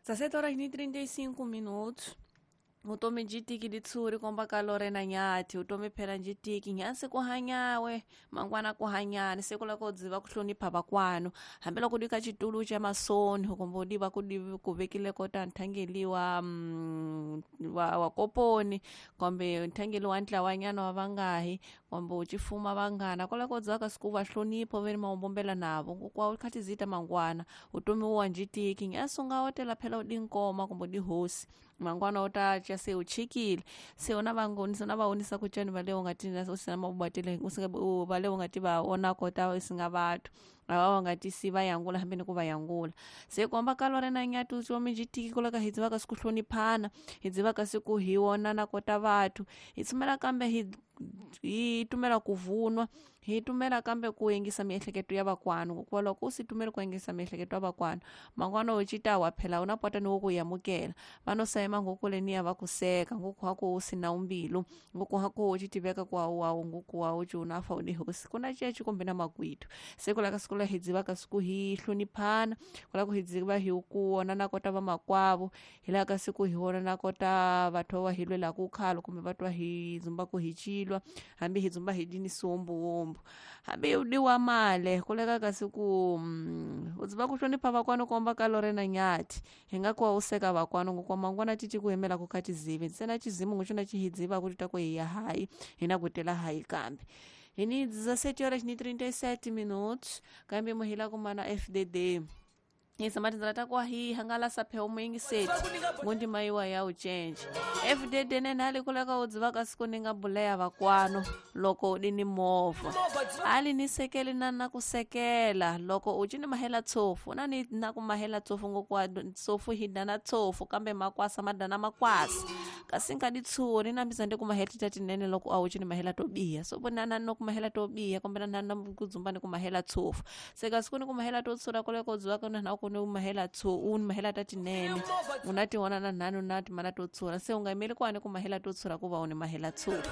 17 horas e 35 minutos. Vutomi byi tiki litshuri komba ka Lorena Nyathi vutomi phela byi tiki nyansi ku hanyawe mangwana ku hanyani se ku lava ku dziva ku hlonipha vakwanu hambiloko di ka xitulu xa masoni kumbe u diva ku di ku vekile kota nthangeli wa wa koponi kumbe nthangeli wa ntlawanyana wa vangahi kumbe u xifuma vanghana kwala ko dzaka siku va hlonipha ve ni mawombombela navo kwa kha tizita mangwana vutomi wa byi tiki nyansi u nga otela phela u di nkoma kumbe u di hosi mangwana u ta tya se u chikile se u na vangonisa na vaonisa ku tyani va le u nga ti u sina mabubatele va le u nga ti va ona kota u singa vathu lava va nga ti si va yangula hambi ni ku va yangula se komba ka Lorena Nyathi vutomi byi tiki ku laka hi dzivaka siku hloniphana hi dzivaka siku hi onana kota vathu hi tsumela kambe hi tumela ku vunwa hi tumela kambe ku yingisa miehleketo ya vakwanu hikuva loko u si tumeli ku yingisa miehleketo ya vakwanu mangwana u cita wa phela u na pota ni wo ku yamukela va no sayima ngoku leniya va ku seka ngoku hako u sina umbilu ngoku hako u citiveka ku awu ngoku wa u ci unafa u hosi ku na ceci kumbe na makwitu se ku laka siku la hi dzivaka siku hi hloniphana ku laka hi dziva hi ku onana kota vamakwavo hi laka siku hi onana kota vathu va hi lwelaku khalo kumbe vatwa hi dzumbaku hi cilwa hambi hi dzumba hi dini siwombuwombu hambi u diwa male ku leka ka siku u dziva ku hlonipha vakwanu komba ka Lorena Nyathi hi nga kuwa u seka vakwanu ngokwa mangwana titi ku hemela ku kha tizivi ntsena xizimu nguxona xi hi dziva ku tita ku hi ya hayi hi na ku tela hayi kambe hi ni 17 horas ni 37 minutos kambe muhila kumana FDD hi tindlela ta ku hi hangalasa phe muyingiseti ngundima yiwa ya u cinca FDD nene hali kuleka u dzivaka siku ni nga buleya vakwanu loko u ni movha hali ni sekeli na na ku sekela loko u cini mahela tshofu na ni na ku mahela tshofu ngokwa tshofu hi dana tshofu kambe makwasa ma dana makwasa kasi nga di tshuri na mbisa ndi ku mahela tita tinene loko a u cini mahela to biha so vona na no ku mahela to biha kumbe na na ku dzumba ni ku mahela tshofu se kasi ku ni ku mahela to tshura koleko dzivaka na ku ni mahela tso u ni mahela ta tinene u na tiona na nhanu na timala to tshura se u nga yimeli kwani ku mahela to tshura ku va u ni mahela tshura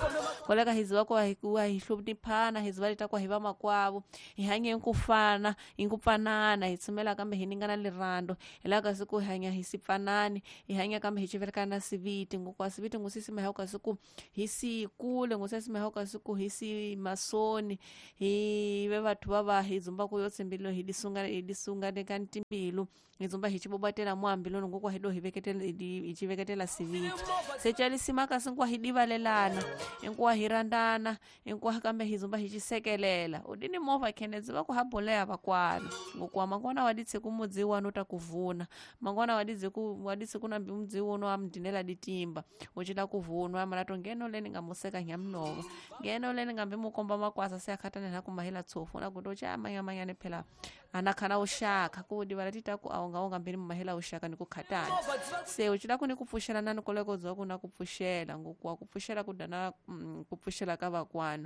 koleka hi ziva ku hi hloniphana hi ziva leta ku hi va makwavo hi hanye ku fana hi ku pfanana hi tsumela kambe hi ningana lirando hi laka siku hi hanya hi si pfanani hi hanya kambe hi civelekana siviti ngokwa siviti ngusisi mahauka siku hi si kule ngusisi mahauka siku hi si masoni hi ve vathu va va hi dzumba ku yo tshembilo hi disunga ka ntimbilu hi dzumba hi xibobatela muambiloni ngokwa hi do hi veketela hi xiveketela siviti se calisima kasi nkuwa hi divalelana inkuwa hi randana inkuwa kambe hi dzumba hi xisekelela u dini movha khene dziva ku ha boleya vakwana ngokuwa mangwana wa ditse ku mudzi wanu ta ku vuna mangwana wa ditse ku na mudzi wuno wa mdinela ditimba u cila ku vunwa mala to ngeno leni nga museka nyamnova ngeno leni nga mbi mukomba makwasa se akhatane na ku mahela tsofu na ku to cha manyamanyane phela anakhana uxaka ku divala tita ku awunga unga mbiri mahela uxaka ni ku khatana se u cila ku ni ku pfuxela na ni koleko dzwa ku na ku pfuxela ngokuwa ku pfuxela ku dana ku pfuxela ka vakwanu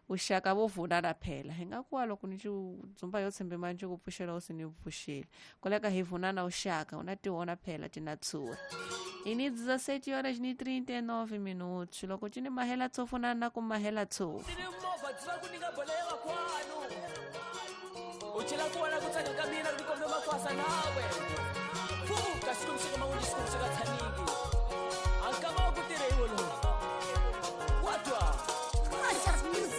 uxaka vo vunana phela hi nga kuwa loko ni dzumba yo tshembe manje ku pfuxela u si ni pfuxela koleka hi vunana uxaka u na tiona phela tina tsura hi ni 17 horas ni 39 minutos loko cini mahela tsofu na na ku mahela tsofu Uchila kuwana kutsaka kamina rikombe makwasa nawe. Fuka sikumsika mawundi sikumsika thaningi.